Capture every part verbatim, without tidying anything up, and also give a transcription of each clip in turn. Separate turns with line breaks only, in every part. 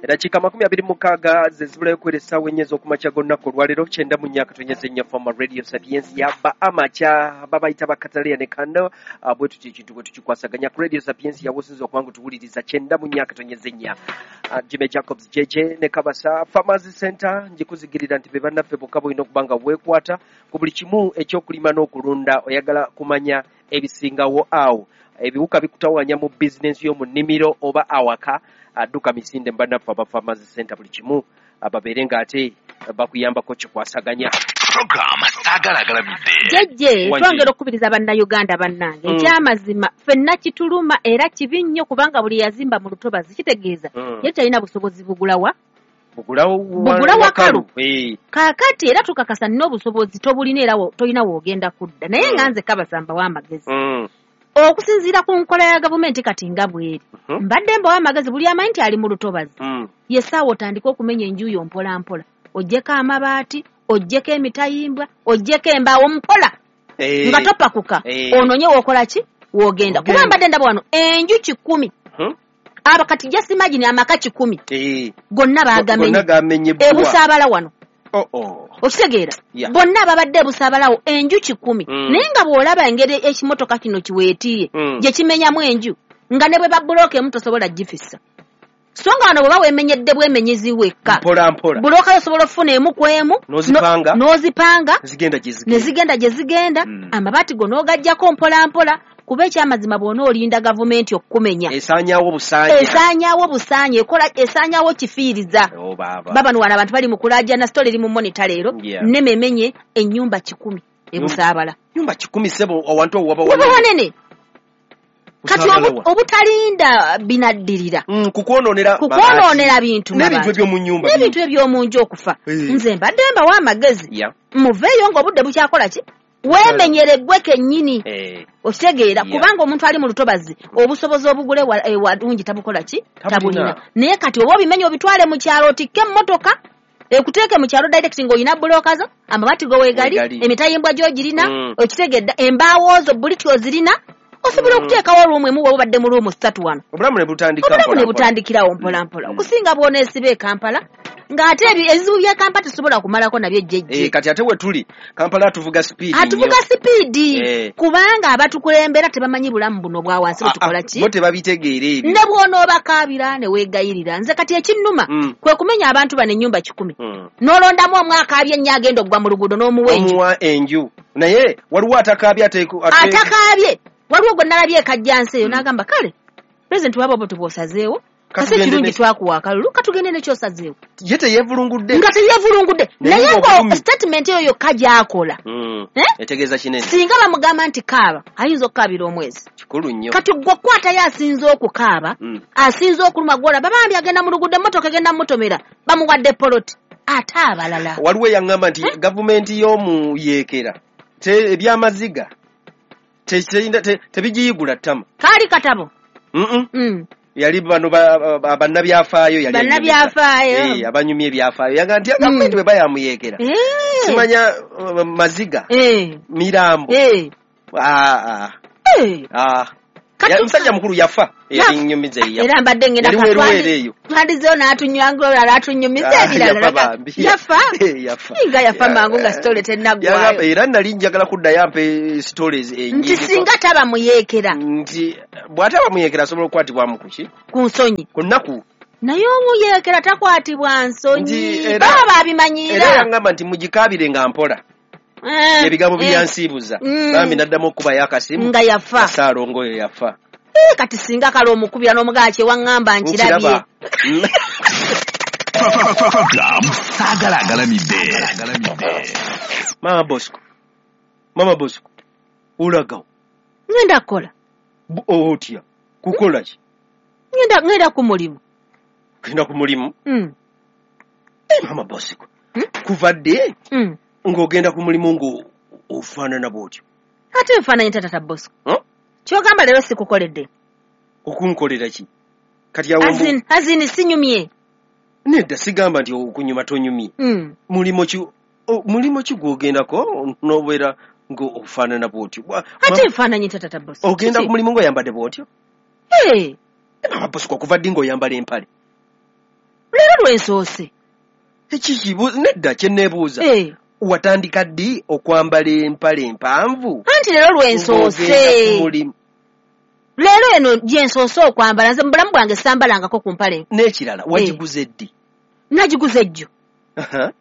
Eddakiika makumi abiri mu mukaaga ze zibulayo okuwera essaawa ennya ez'okumakya g'olunaku olwaleero, kyenda mu nnya akatonyeza ennya Fama Radio Sapientia yaba amakya babayita bakataleya ne kano. Ah, bwe tutyo ekintu bwe tukikwasaganya ku Radio Sapientia wosinza okuba nga tuwuliriza kyenda mu nnya akatonyeza ennya. Ah, Jimmy Jacobs J J ne Kabasa Farmers Center njikuzigirira nti be bannaffe bokka bolina okuba nga weekwata ku buli kimu ekyokulima n'okulunda. Oyagala kumanya ebisingawo awo, ebiwuka bikutawanya mu bizinensi y'omu nnimiro oba awaka, adduka misinde mu bannaffe aba Farmers Center, buli kimu babeere ng'ate bakuyambako kikwasaganya.
Program Saagala Agalamidde.
Jjejje,
Wangi.
Twongera okukubiriza Bannayuganda bannange.
Mm.
Ekyamazima ffenna kituluma era kibi nnyo, kubanga buli yazimba mu lutobazi kitegeeza
Mm.
ye talina busobozi bugulawa
bugulawo.
Bugula wakalu.
Eh,
Kaakati era tukakasa nina obusobozi tobulina, era wo- tolina woogenda kudda, naye nga nze kabasamba w'amagezi
mm,
okusinziira ku nkola ya gavumenti kati nga bweri,
mhm,
mbadde mbawa amagezi buli amanyi nti ali mu lutobazi,
mm.
ye ssaawa otandike okumenya enju yo mpola mpola, oggyeko amabaati, oggyeko emitayimbwa, oggyeko embaawo mpola,
Eh,
nga topakuka,
Eh.
ononye wookola ki woogenda,
Ogenda.
kuba mbadde ndaba wano enju kikumi,
mhm,
aba kati just imagine amaka kikumi
eh.
gonna
Gonna
baagamenye
gamenye bbwa.
Ebusaabala wano.
Oh, oh.
Okitegeera?
Yeah.
Bonna ababadde ebusaabalawo enju kikumi,
Mm.
naye nga bw'olaba engeri ekimotoka kino kiweetiye
Mm.
gye kimenyamu enju, nga ne bwe babulooka emu tosobola gifissa, so nga wano bwe bawemenyedde bwemenyezi wekka,
Mpola mpola.
Bulooka yo osobola okufuna emu ku emu,
N'ozipanga.
no- n'ozipanga
zigenda gye
ne
zigenda.
zigenda gye zigenda.
Mm.
Amabaati go n'ogaggyako mpola mpola, kuba ekyamazima bw'ona olinda gavumenti okukumenya,
esaanyaawo busaanya.
Esaanyaawo busaanya, ekola esaanyaawo kifiiriza.
Oh, baaba.
Baba wano abantu bali mu kulaajana, sitole eri mu Monitor leero.
Yeah.
Nnememenye ennyumba kikumi ebusaabala.
Nyumba kikumi, sebo, awantu awo waba
waba
wanene.
Wanene kati
Busaabala
obu-
wa?
Obutalinda binaddirira
Mm, kukwonoonera
kukwonoonera bintu,
n'ebintu
mabaati.
eby'omu nnyumba.
N'ebintu eby'omu nju okufa.
Eh.
Nze mbadde mbawa amagezi,
Yeah.
muveeyo ng'obudde bukyakola ki, weemenyere gwe kennyini.
Eh,
Okitegeera?
Yeah.
Kubanga omuntu ali mu lutobazi obusobozi obugule wa- ewalungi tabukola ki?
Tabulina.
Tabulina. Naye kati oba obimenya obitwale mu kyalo, otikke emmotoka ekuteeke mu kyalo direct ng'olina bulooka zo, amabaati go weegali,
Weegali.
emitayimbwa gy'ogirina.
Mm.
Okitegedda? Embaawo zo buliti ozirina, osobola
Mm.
okuteekawo ruumu emu woba obadde mu ruumu ssatu wano.
Obulamu ne butandika
Obulamu
mpola
ne
mpola.
butandikirawo mpola mpola,
Mm.
okusinga bw'oneesiba e Kampala ng'ate ebi- ebizibu by'e Kampala tesobola kumalako nabyo ejjejje.
Eh, kati ate we tuli Kampala atuvuga speed.
Atuvuga sipiidi,
Eh.
kubanga abatukulembera tebamanyi bulamu buno bwa wansi bwe tukola ki.
Bo tebabitegeera ebyo.
Ne bw'onoobakaabira ne weegayirira, nze kati ekinnuma
Mm.
kwe kumenya abantu bano ennyumba kikumi,
Mm.
n'olondamu omu akaabye ennyo agenda okugwa mu luguudo n'omuwa enju.
Omuwa enju, naye waliwo atakaabye ateeku- ate-
Atakaabye waliwo gwe nalabye ekajjansi eyo,
Mm.
n'agamba, "Kale pulezidenti, waba oba tubwosazeewo, kasi
Katugende
ekirungi
ne-
twakuwa akalulu, katugende nekyosazeewo."
Ye teyeevulungudde.
Nga teyeevulungudde.
Naye
Naye
ng'obulumi.
nga statement eyo yokka gy'akola,
Mm.
Eh?
Etegeeza kinene.
Singa bamugamba nti kaaba, ayinza okukaabira omwezi.
Kikulu nnyo.
Kati gwe kwatayo asinze okukaaba,
Mm.
asinze okuluma, gwolaba bambi agenda mu luguudo, emmotoka egenda mutomera, bamuwadde poloti, ate abalala.
Waliwo eyaŋŋamba nti
Eh?
gavumenti y'omuyeekera te- ebyamaziga te- teyinda- te- tebigiyigula ttama.
Kaali katabo.
Mm-mm.
Mm.
Yali bano ba- ba- bannabyafaayo yali
Bannabyafaayo.
anyumiza. Eh, abanyumya ebyafaayo yaga nti gavumenti
Mm.
bwe bayamuyeekera,
Eh.
simanya uh, maziga,
Eh.
mirambo.
Eh.
Ah, ah,
Eh.
ah.
Kati-
Ya- musajja mukulu yafa.
Yafa.
Eyalinyumiza eyo.
Era mbadde ngenda
Yali weeruweeru eyo.
twandizeyo n'atunywangula n'atunyumiza
Ah,
ebirala.
yafa bambi.
Yafa.
Eh, yafa.
Nga yafa mangu nga sitole
Yagamba-
tennaggwayo.
Era nali njagala kuddayo ampe stories
Nti
enyingi.
singa taba muyeekera.
Nti bw'ataba muyeekera asobola okukwatibwamu kuki?
Ku nsonyi.
Ku nnaku.
Naye omuyeekera takwatibwa nsonyi.
Nti era-
Baba
era
babimanyiira.
yaŋŋamba nti mugikaabire nga mpola.
Eh,
Ebigambo
eh,
byansiibuza.
Mm.
Bambi naddamu okukubayo akasimu.
Nga yafa.
Saalongo oyo yafa.
Eh, kati singa kale omukubira n'omugaa kyewaŋŋamba nkirabye.
Nkiraba. Mm.
Program Saagala Agalamidde.
Mama Bosco, Mama Bosco, olagawo?
Ngenda kukola.
Bu- otya kukola ki?
Ngenda ngenda ku mulimu.
Genda ku mulimu?
Mm,
Eh, Mama Bosco,
Mm.
kuva dde
mm.
ng'ogenda ku mulimu ng'ofaanana bw'otyo?
Ate enfaananyi tata Bosco?
Huh?
Kyogamba leero sikukoledde?
Okunkolera ki kati awo mbu-
Azini azini sinyumye.
Nedda, sigamba nti okunyuma tonyumye.
Mm.
Mulimu ki o- mulimu ki gw'ogendako n'obeera ng'ofaanana bw'otyo? Bwa-
Ate enfaananyi tata Bosco?
Ogenda
Kiki?
ku mulimu ng'oyambadde bw'otyo?
Eh,
Eh, Mama Bosco, kuva ddi ng'oyambala empale?
Leero lwensoose.
Ekiki nedda kye neebuuza.
Eh.
Watandika ddi okwambala empale empanvu?
Anti leero lwensoose.
Ng'ogenda ku mulimu.
Leero eno gyensoose okwambala, nze mu bulamu bwange sambalangako ku mpale.
N'ekirala wagiguze ddi?
Nagiguze ejjo.
Aha.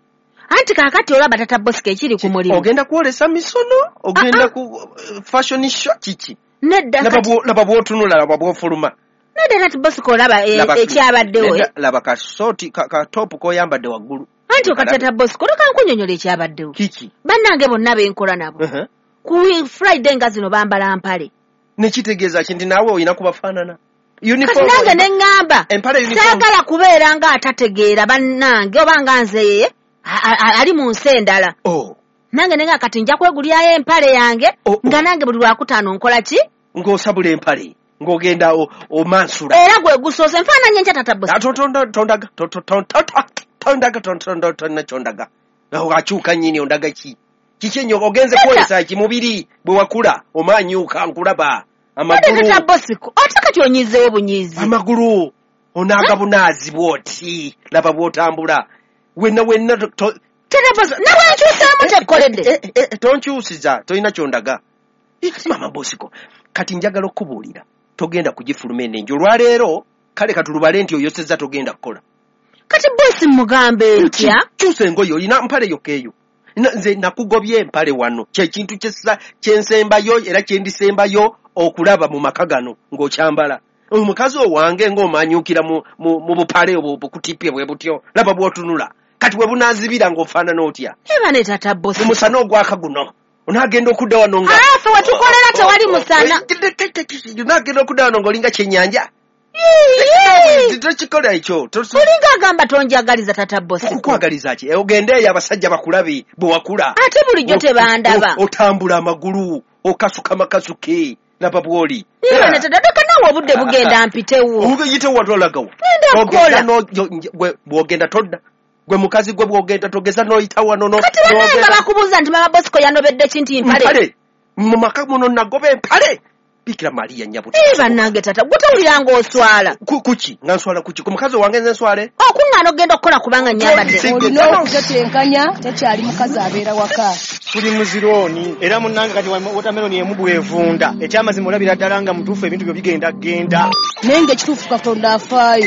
Anti kaakati olaba tata Bosco ekiri ku mulimu.
Ogenda kwolesa misono? Ogenda
Ah, ah.
ku fashion show kiki?
Nedda
Laba
kati
bwo- laba bw'otunula, laba bw'ofuluma.
nedda tata Bosco olaba e-
Laba-
ekyabaddewo.
Nedda, laba kasooti ka, ka topu k'oyambadde waggulu.
Anti okati tata Bosco leka nkunnyonnyola ekyabaddewo.
Kiki?
Bannange bonna benkola nabo.
Uh-huh.
Ku Friday nga zino bambala mpale.
Nekitegeeza ki nti naawe olina kubafaanana?
Kati
Uniform
nange ne ŋŋamba
Empale uniform.
saagala kubeera nga atategeera bannange oba nga nze a- a- ali mu nsi endala.
Oh,
Nange ne ŋŋamba kati nja kwegulyayo empale yange
Oh, oh.
nga nange buli lwakutaano nkola ki?
ng'osabula empale ng'ogenda o- omansula.
Era gwe gusoose nfaananye ntya tata Bosco?
Ah, to- to- tondaga to- to- to- to- to- tondaga to- to- to- tonna kyondaga. Awo akyuka nnyini ondaga ki? Kiki ennyo ogenze
Nedda.
kwolesa ki mubiri bwe wakula omaanyuka nkulaba
Nedda tata
amagulu
Bosco ate kati onyiizeewo bunyiizi.
amagulu onaaga bunaazi bw'oti laba bw'otambula wenna wenna to- to-
Tata Bosco nawe nkyusaamu tekkoledde.
Eh, eh, eh, tonkyusiza tolina kyondaga. Mama Bosco kati njagala okubuulira togenda kugifuluma eno enju olwaleero kale katulubale nti oyosezza togenda kukola.
Kati bosi mugambe ntya?
Kyusa engoye olina mpale yokka eyo. Na- nze nakugobye empale wano kyekintu kyessa- kyensembayo era kyendisembayo okulaba mu maka gano ng'okyambala omukazi owange ng'omanyukira mu, mu, mu bupale obwo bukutipye bwe butyo laba bw'otunula kati bwe bunaazibira ng'ofaanana otya
Eba ne tata Bosco.
omusana ogwaka guno onaagenda okudda wano nga
Ah, ffe we tukolera tewali musana.
onaagenda okudda wano ng'olinga kyennyanja
Yii!
tokikola ekyo To-
Olinga agamba tonjagaliza tata Bosco.
kukwagaliza ki ogende eyo abasajja bakulabe bwe wakula
Ate bulijjo tebandaba.
O- otambula amagulu okasuka makasuke laba bw'oli
Eba ne tata ddoka naawe obudde bugenda mpitewo.
oyite watolagawo
Ngenda kukola.
bw'ogenda todda gwe mukazi gwe bw'ogenda togeza n'oyita wano no-
Kati bannange
n'ogenda-
bakubuuza nti mama Bosco yanobedde ki nti mpale.
mpale mu maka muno nagoba empale bikira Mariya nyabuti
Ee bannange tata gwe towulira ng'oswala.
Ku- kuki nga nswala kuki ku mukazi owange nze nswale
Okuŋŋaana ogenda okukola kubanga nnyambadde.
Si-
Olina okutetenkanya tekyali mukazi abeera waka.
Tuli muzirooni era munnange kati watermelon emu bwevunda ekyamazima olabira ddala nga mutuufu ebintu byo bigenda genda.
Naye ng'ekituufu Katonda afaayo.